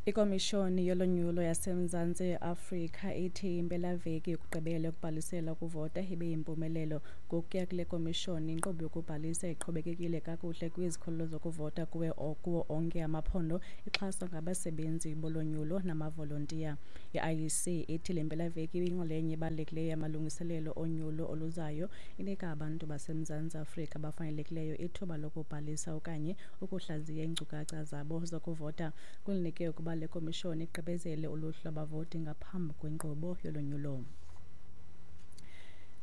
Ikomishoni yolonyulo yaseMzantsi Afrika ithi impelaveki yokugqibela yokubhalisela ukuvota ibe yimpumelelo. Ngokuya kule komishoni, inkqubo yokubhalisa iqhubekekile kakuhle kwizikhululo zokuvota kuwo onke amaphondo, ixhaswa ngabasebenzi bolonyulo namavolontiya. I-IEC ithi le mpelaveki ibiyinxalenye ebalulekileyo yamalungiselelo onyulo oluzayo, inika abantu baseMzantsi Afrika abafanelekileyo ithuba lokubhalisa okanye ukuhlaziya iinkcukacha zabo zokuvota. Kulindeleke ukuba le komishoni igqibezele uluhlu lwabavoti ngaphambi kwenkqubo yolonyulo.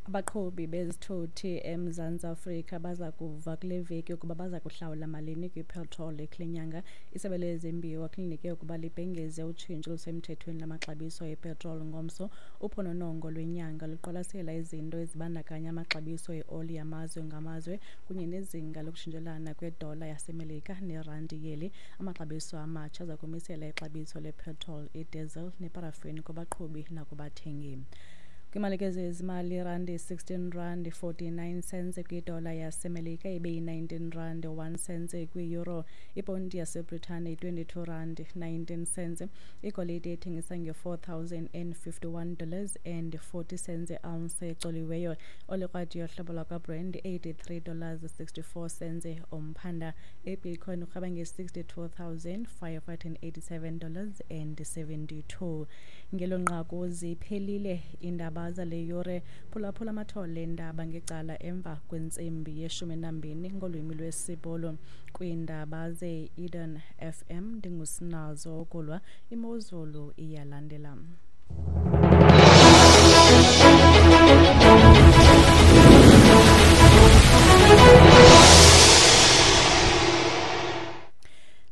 Abaqhubi bezithuthi eMzantsi Afrika baza kuva kule veki ukuba baza kuhlawula malini kwipetroli kule nyanga. Isebe lezembiwa kulindeleke ukuba libhengeze utshintsho olusemthethweni lwamaxabiso epetroli ngomso. Uphononongo lwenyanga luqwalasela izinto ezibandakanya amaxabiso eoli yamazwe ngamazwe kunye nezinga lokutshintshelana kwedola yaseMelika nerandi yeli. Amaxabiso amatsha aza kumisela ixabiso lepetroli, idiesel neparafini kubaqhubi nakubathengi. Kwimalike zezimali, irandi 16 rand 49 cents kwidola yaseMelika, ibe yi-19 rand 1 cents kwi-euro. Iponti yaseBritane yi-22 rand 19 cents. Igolide ithengisa nge-$4,051 dollars and 40 cents ounce ecoliweyo. Olikrwadi yohlobo lwakwaBrand 83 dollars 64 cents umphanda. Ibitcoin urhweba nge-$62,587 dollars and 72. Ngelo nqaku ziphelile iindaba zale yure. Phulaphula amathole eendaba ngecala emva kwentsimbi ye-12 ngolwimi lwesiBhulu. Kwiindaba ze-Eden FM ndinguSinazo Okulwa. Imozulu iyalandela.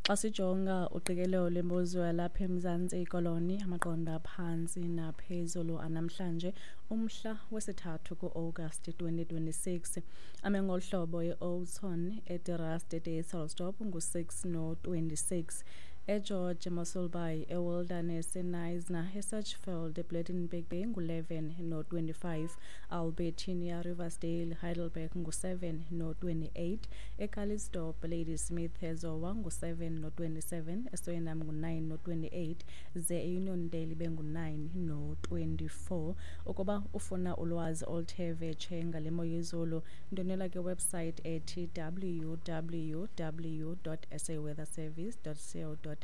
Xa sijonga uqikelelo lwemozulu yalapha eMzantsi Koloni, amaqondo aphantsi naphezulu anamhlanje, umhla wesithathu ku-Agasti 2026, ame ngolu hlobo: e-Oudtshoorn, eDe Rust, eDysselsdorp ngu-6 no-26, eGeorge, eMossel Bay, eWilderness, eKnysna, eSachsfield, ePlettenberg Bay ngu-11 no-25, Albertinia, Riversdale, Heidelberg ngu-7 no-28, eCalitzdorp, Ladysmith, eZowa ngu-7 no-27, eSwellnum ngu-9 no-28, ze eUniondale ibe ngu-9 no-24. Ukuba ufuna ulwazi oluthe vetshe ngale mo yezulu, ndwendwela kwiwebsite ethi www.saweatherservice.co.za.